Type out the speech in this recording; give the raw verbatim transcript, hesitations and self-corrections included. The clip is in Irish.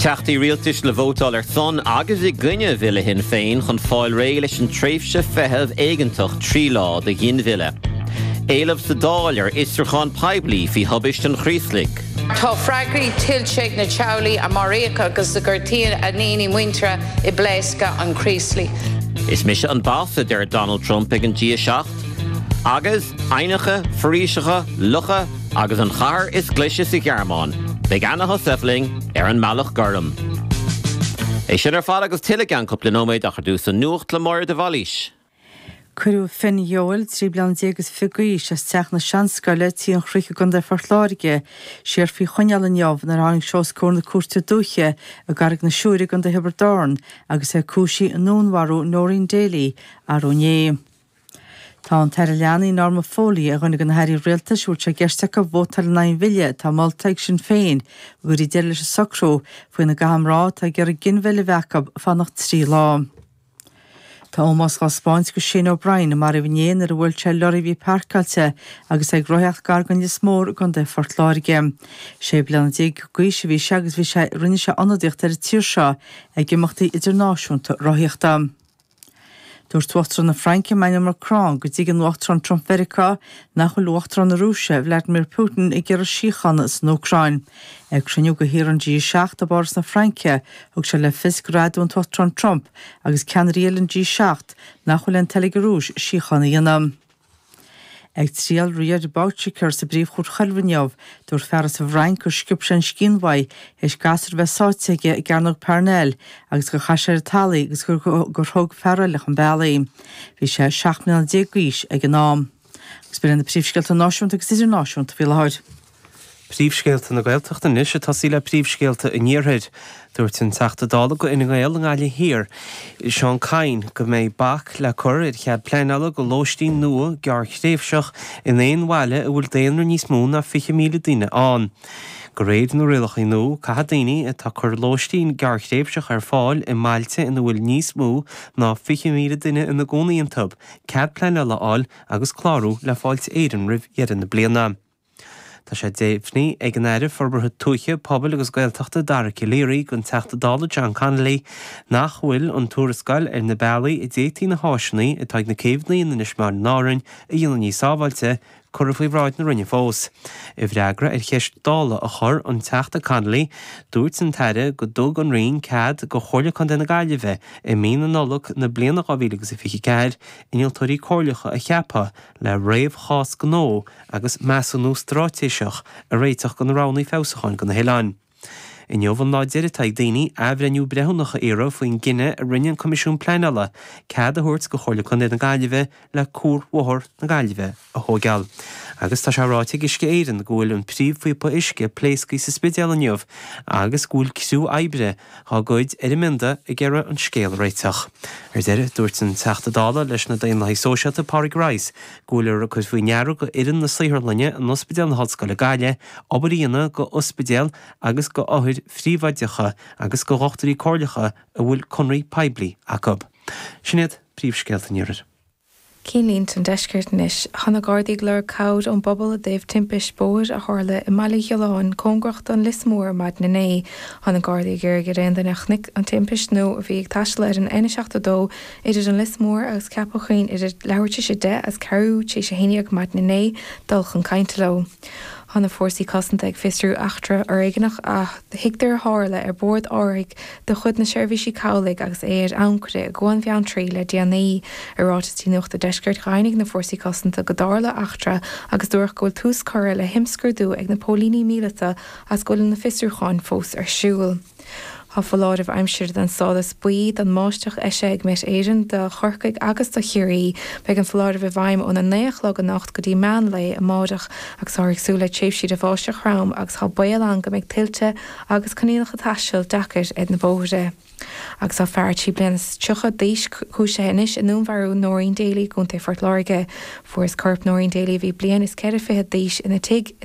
Teachtaí rialtais le vótáil ar son agus i gcoinne bhille Shinn Féin chun fáil réidh leis an tréimhse feithimh éigeantach trí lá do ghinmhilleadh. Éileamh sa Dáil ar fhiosrúchán poiblí faoi thubaiste an Chraoslaigh. Tá freagraí tuillte ag na teaghlaigh a maraíodh agus a gortaíodh a ndaoine muinteartha i bpléascadh an Chraoslaigh. Is mise an boss a deir Donald Trump ag an G seacht, agus aibhneacha, foraoiseacha, locha agus an chathair is glaise sa Ghearmáin, Beidh Anna Heussaff linn ar an mBealach Gorm. É sin ar fad agus tuilleadh i gceann cúpla nóiméad ach ar dtús an nuacht le Máire de Bhailís. Cuireadh Finn Yeowell trí bliana déag is fiche d'aois as teach na Seanscoile Tí an Chnoic i gContae Phort Láirge, siar faoi choinneáil inniu nuair a tháinig sé os comhair na cúirte dúiche i gCarraig na Siúire i gContae Thiobraid Árann agus é cúisithe i ndúnmharú Noreen Daly arú inné. Tá an tAire Leanaí Norma Foley ar dhuine de na hairí rialtais a bhfuil sé i gceist acu vótáil in aghaidh an bhille atá molta ag Sinn Féin go gcuirfí deireadh leis an socrú faoina gcaithfidh mná atá ag iarraidh ginmhilleadh a bheith acu fanacht trí lá. Tá ómós á thaispeáint do Shane O'Brien a maraíodh inné nuair a bhuail sé lorry a bhí páirceáilte agus é ag rothaíocht gar don Lios Mór i gContae Phort Láirge. Sé bliana déag d'aois a bhí sé agus bhí sé rinne sé ionadaíocht ar an tír seo ag imeachtaí idirnáisiúnta rothaíochta. Dúirt Uachtarán na Fraince Emmanuel Macron go dtuigeann Uachtarán Trump Mheiriceá nach bhfuil Uachtarán na Rúise Vladimir Putin ag iarraidh síochána san Úcráin. Ag cruinniú de thíortha an G seacht i bPáras na Fraince thug sé le fios gur admhaigh an tUachtarán Trump agus ceannairí eile an G seacht nach bhfuil aon toil ag an Rúis síocháin a dhéanamh. Ag triail Riad Boucicaut sa bPríomhchúirt Choiriúil inniu, dúirt fear as an bhFrainc gur sciob sé an scian uaidh théis gasúr a bheith sáite aige i gCearnóg Parnell agus gur chaith sé ar an talamh é agus gur thug fear eile chun bealaigh. Bhí sé seacht mbliana déag d'aois ag an am. Agus b'in na príomhscéalta náisiúnta agus idirnáisiúnta faoi láthair. Príomhscéalta na Gaeltachta anois ag tosaí le príomhscéalta an Iarthair. Dúirt an Teachta Dála do Fhine Gael i nGaillimh Thiar, Seán Kyne, go mbeidh bac le cur ar chead pleanála do lóistín nua gearrthréimhseach in aon bhaile a bhfuil daonra níos mó ná fiche míle duine ann. De réir na rialacha nua, caithfidh daoine atá ag cur lóistín gearrthréimhseach ar fáil i mbailte ina bhfuil níos mó ná fiche míle duine ina gcónaí iontu, cead pleanála a fháil agus clárú le Fáilte Éireann roimh dheireadh na bliana. Tá sé deimhnithe ag an Aire Forbartha Tuaithe, Pobail agus Gaeltachta Dara Calleary don Teachta Dála John Connolly nach bhfuil an tuarascáil ar na bealaí a d'fhéadfaí na háiseanna atá ag na céibheanna in Inis Meáin in Árainn a dhéanamh níos sábháilte curtha faoi bhráid na Roinne fós. I bhfreagra ar cheist Dála a chuir an Teachta Connolly, dúirt an tAire go dtug an Roinn cead do Chomhairle Contae na Gaillimhe i mí na Nollag na bliana dhá mhíle agus a fiche ceathair innealtóirí comhairleacha a cheapadh le réamhchás gnó agus measúnú straitéiseach a réiteach do na roghanna feabhsúcháin do na hoileáin. Inniu an lá deiridh atá ag daoine athbhreithniú breithiúnach a iarraidh faoin gcinneadh a rinne an Coimisiún Pleanála cead a thabhairt do Chomhairle Contae na Gaillimhe le Cuarbhóthar na Gaillimhe a thógáil. Agus tá sé ráite ag Uisce Éireann go bhfuil an príomhphíopa uisce pléasctha sa Spidéal inniu agus go bhfuil criú oibre á gcuid ar an mbionda ag iarraidh an scéal a réiteach. Ar deireadh, dúirt an Teachta Dála leis na Daonlathaigh Sóisialta Pádraig Rice go bhfuiltear ag cur faoi ndeara go fhoireann na saotharlainne in Ospidéal na hOllscoile Gaillimh obair a dhéanamh go ospidéal agus go othair phríobháideacha agus go dhochtúirí comhairleacha a bhfuil conraí poiblí acu. Sin iad príomhscéalta an Iarthair. Cinnlínte an deiscirt anois. Tá na Gardaí ag lorg cabhair ón bpobal i dtaobh timpist bóthair a tharla i mBaile Ghiolláin cóngarach don Lios Mór maidin inné. Tá na Gardaí ag iarraidh ar aon duine a chonaic an timpist nó a bhí ag taisteal ar an N seachtó dó idir an Lios Mór agus Ceapach Choinn idir leathuair tar éis a deich agus ceathrú tar éis a haon déag maidin inné dul chun cainte leo. Tá na fórsaí cosanta ag fiosrú eachtra fhoréigneach a thuigtear a tharla ar bord árthaigh de chuid na Seirbhísí Cabhlaigh agus é ar ancaire i gCuan Bheanntraí le déanaí. I ráiteas do Nuacht an Deiscirt dheimhnigh na fórsaí cosanta go dtarla eachtra agus dúradh go bhfuil tús curtha le himscrúdú ag na póilíní míleata agus go bhfuil na fiosrúcháin fós ar siúl. Tá foláireamh aimsire den stádas buí don mbáisteach eisithe ag Met Éireann do Chorcaigh agus do Chiarraí. Beidh an foláireamh i bhfeidhm óna naoi a chlog anocht go dtí meán lae amárach agus táthar ag súil le tréimhsí de bháisteach throm agus tá baol ann go mbeidh tuilte agus coinníollacha taistil deacair ar na bóithre. Agus tá fear trí bliana is tríocha d'aois cúisithe anois i ndúnmharú Noreen Daly i gContae Phort Láirge. Fuarthas corp Noreen Daly a bhí bliain is ceithre fichid d'aois ina tigh